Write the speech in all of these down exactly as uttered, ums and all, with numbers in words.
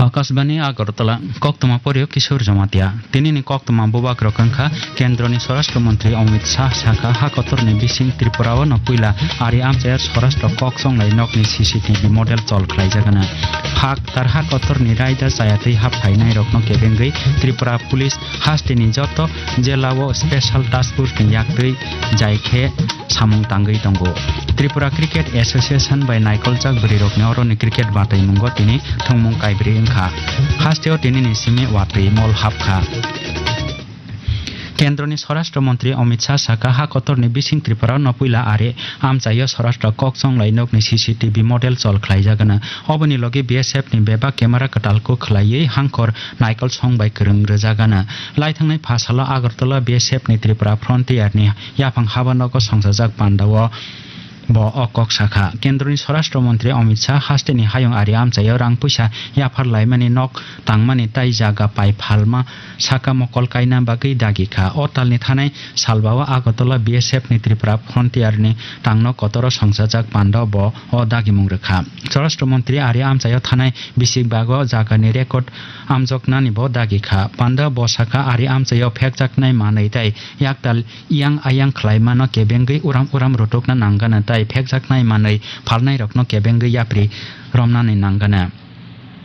Akashbani Agartala, koktwma poryo Kishore Jamatia. Tinini koktwma bubagrok wngkha Kendroni Swarashtra Mantri Amit Shah sakha ha kotorni bising Tripura o no puila ari amchaya Swarashtra kok songlai nokni C C T V model chol khlaijagana. Hak tar ha kotorni raida chayatwi hap phainairokno kebengwi Tripura Police hasteni joto jela o Special Task Force ni yaktwi jai khe samung tangwi tongo. Tripura Cricket Association bai naikoljak bwrwirokni oroni cricket bataimungo tini thwngmung kaibrwi wngkha. Hasteo tinini simi watwi mol hapkha. Kendroni Swarashtra Mantri Amit Shah sakha ha kotorni bising Tripura no puila ari amchaio Swarashtra kok songlai nokni C C T V model chol khlaijagana. Oboni logi B S F ni bebak camera kwtal kuk khlaiwi hangkhor naikol song bai kwrwng rwjagana. Laithangnai pha salo Agartala B S F ni Tripura Frontier ni yaphang haba nogo songchajak pandao bo o kok sakha. Kendroni Swarashtra Mantri Amit Shah hasteni hayung ari amchaio rang puisa yaphar laimani nok tangmani tai jaga pai phalma saka mokol kaina bagwi dagi kha. O talni thanai salbao Agartala B S F ni Tripura Frontier ni tangno kotoro songchajak pandao bo o dagimung rwkha. Swarashtra Mantri ari amchaio thanai bisik bago jagani record amjoknani bo dagi kha. Panda bo sakha ari amchaio phekjaknai manwi tai yaktal iyang ayang khlaimano kebengwi uram uram rutukna nanggana tai phekjaknai manwi phalnairokno kebengwi yapri romnani nanggana.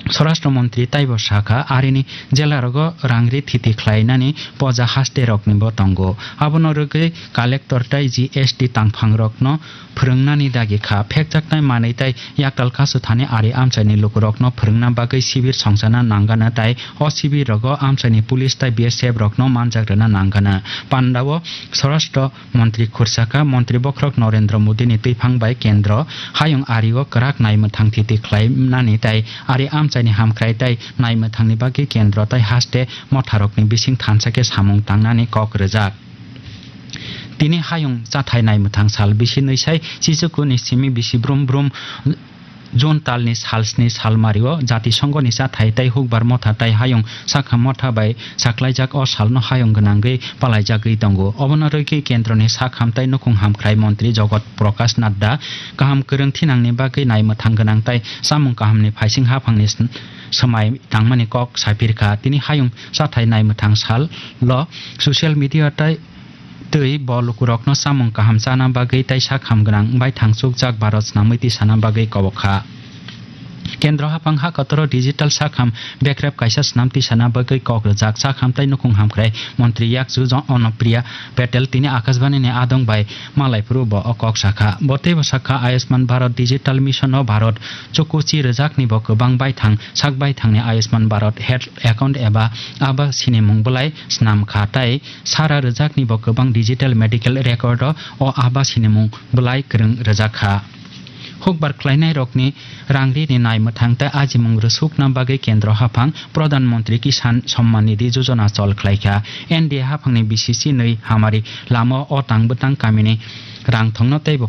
Swarashtra Mantri taibo sakha, arini jelarogo rangri thiti khlainani poja hasterokni bo tongo. Abono rwgwi collector tai G S T tangphangrokno phwrwngnani dagi kha. Phekjaknai manwi tai yaktal kasu thani ari amchaini lukurokno phwrwngna bagwi sibir songchana nanggana tai o sibir rogo amchaini police tai B S F rokno manjak rwna nanggana. Pandao Swarashtra Mantri khursaka Mantri bokhorok Narendra Modi ni twiphang bai kendro hayung ario kwrak naimwthang thiti khlainani tai ari amchaini hamkrai tai naimwthangni bagwi kendro tai haste motharokni bising thansa khe samung tangnani kok rwjak. Tini hayung chathai naimwthang sal bisi nwisai chichuku ni simi bisi brum brum June talni sal sni salmario Jatisongo ni chathai tai hukbar motha tai hayung sakha motha bai saklaijak o salno hayung gwnangwi palaijagwi tongo. Obono rwgwi kendroni sak ham tai nukhung hamkrai montri Jogot Prakash Nadda kaham kwrwng thinangni bagwi naimwthang gwnang tai chamung kahamni phaising haphangni sn-, swmai tangmani kok sapirkha. Tini hayung chathai naimwthang salo social media tai twi bo lukurokno chamung kaham chana bagwi tai sak ham gwnang wngbai thangchukjak Bharat snamwi tisana bagwi kobok kha. Kendro haphang ha kotoro digital sak ham bekrep kaisa snam tisana bagwi kok rwjak sak ham tai nukhung hamkrai montri yakchu Jon-, Onopriya Patel tini Akashbani ni adong bai malai phuru bo o kok sakha. Bo teibo sakha Ayushman Bharat Digital Mission o Bharat chukuchi rwjakni bo kwbang baithang sak baithangni Ayushman Bharat Health Account eba aba sinimung bwlai snam kha tai sara rwjakni bo kwbang digital medical record o, o aba sinimung bwlai kwrwng rwjak kha. Hukbar khlainairokni rangrini naimwthang tei ajimung rwsukna bagwi kendro haphang Pradhan Mantri Kisan Samman Nidhi Yojana chol khlaikha. N D A haphangni B C C nwi hamari lama o tang bwtang kamini rang thongno teibo